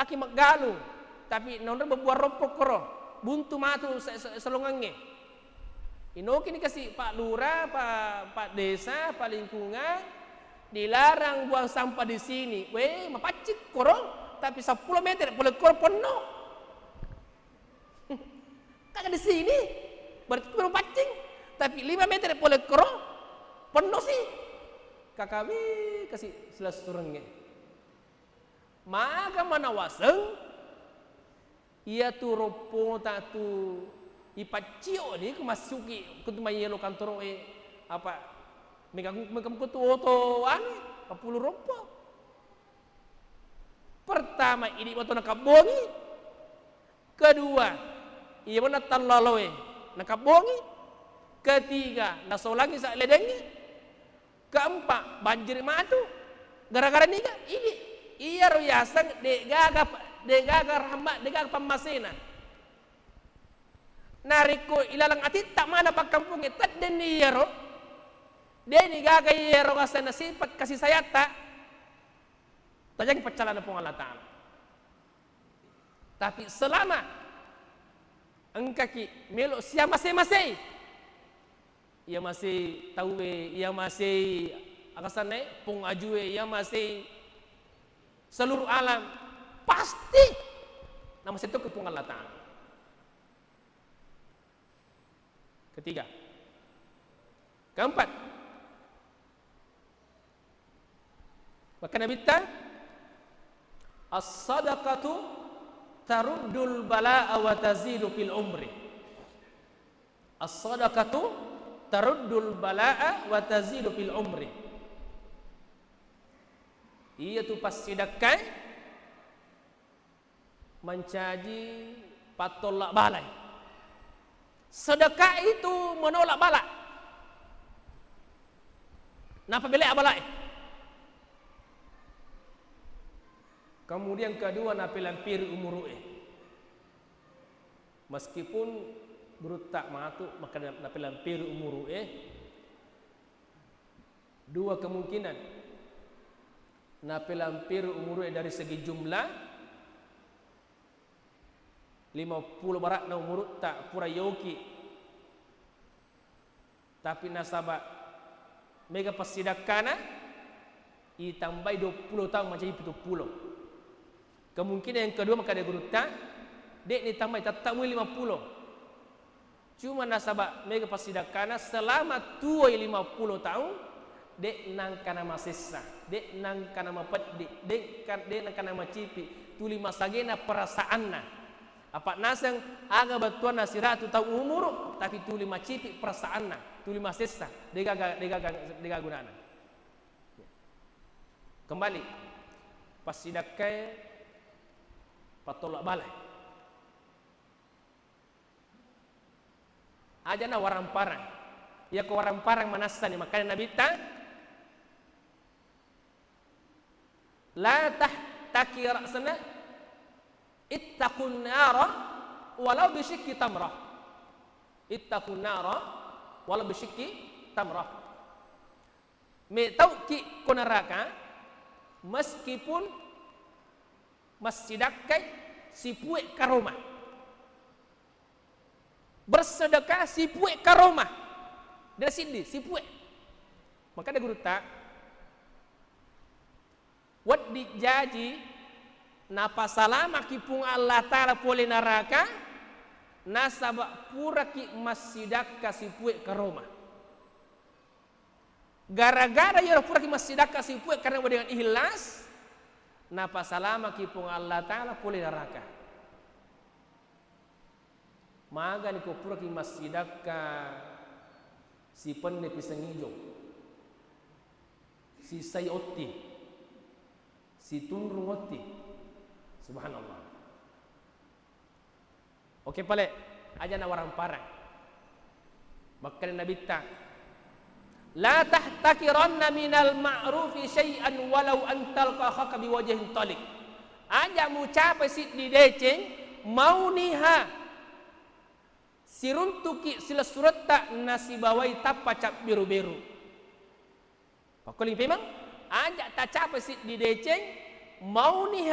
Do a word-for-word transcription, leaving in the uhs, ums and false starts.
ki maggalung, tapi naonroi bebbuang roppo koro, buntu matu se-, se-, selongengnge. Inokini kasi Pak Lurah, Pak, Pak Desa, Pak Lingkungan, dilarang buang sampah di sini. Weh, mapaccing koro, tapi seppulo meter pole koro ponno. Kan di sini, berarti koro mapaccing, tapi lima meter pole koro ponno si. Kakawi kasi silessurengnge. Maga manawaseng, iyatu roppota tu ipaccio ni ku massuki ku tu mayelo kantoro'e, apa, mega, mega muko tu oto anu, pappulu roppo. Pertama, idi mato nakabbongi. Kedua, iya manna tallaloe nakabbongi. Ketiga, nasolangi sa'ledengngi. Keempat, banjir matu. Gara-gara niga? Idi. Iyaro yaseng de'gaga, de'gaga rahmat, de'gaga pammasena. Narekko ilaleng atitta mana pakkampungnge, teddenni iyaro, de'ni gaga iyaro asenna sifat kasih sayatta, tajangi paccalana Puang Allah Ta'ala. Tapi selama engkaki melo siamase-masei, iya masei tauwe, iya masei akasannae pong ajue, iya masei seluruh alam, pasti namasei tokko Puang Allah Ta'ala. Ketiga. Keempat. Maka Nabitta, "As-sadaqatu taruddul bala'a wa tazidu fil umri." "As-sadaqatu taruddul bala'a wa tazidu fil umri." Iyatu passidakkae mancaji pattolla balai. Sedekah itu menolak bala. Napabelea balae. Kemudian kedua, napelampiri umuru'e. Meskipun gurutta matu, maka napelampiri umuru'e, dua kemungkinan. Napelampiri umuru'e dari segi jumlah, lima pulo bara'na umurutta pura yoki, tapi nasaba mega passidakkana, itambai dua pulo taung mancaji pitu pulo. Kemungkinan yang kedua, makkeda gurutta, de'ni tambai, tette mui lima pulo. Cuma nasaba mega passidakkana, selama tuwoi lima pulo taung, de' nangka namasessa, de' nangka namapeddi, de' ka-, de' nangka namacipi, tuli masagena perasaanna. Apa' naseng aga bettuanna siratu taung umuru, tapi tuli macipi perasaanna, tuli masessa, de'gaga, de'gaga, de'gaga gunana. Kembali, passidakkae pattolla balai. Ajana warang-parang. Iyako warang-parang manassani, makkeda Nabitta, "La tahtaqir-, sana, ittaqun nara walau bisyiqqi tamrah." Ittaqun nara walau bisyiqqi tamrah. Metauki ko neraka, meskipun massidakkai sipue karoma. Bersedekah sipue karoma. De' siddi, sipue. Makkeda gurutta, wedding jaji napasalamaki Puang Allah Ta'ala pole naraka, nasaba puraki massidakka sipue karoma. Gara-gara iyaro puraki massidakka sipue karena dengan ikhlas, napasalamaki Puang Allah Ta'ala pole naraka. Magani ko puraki massidakka sipenne pisang ijo, sisai otti, situnrung otti. Subhanallah. Oke pale, aja nawarang-parang. Makkeda Nabitta, "La tahtaqiranna minal ma'rufi syai'an walau an talqa akhaka biwajhin taliq." Aja mucapai siddi deceng, mauniha siruntuki silessuretta nasibawai tappa cabbiru-biru. Pakkuling pemeng, aja tacapai siddi deceng, mauniha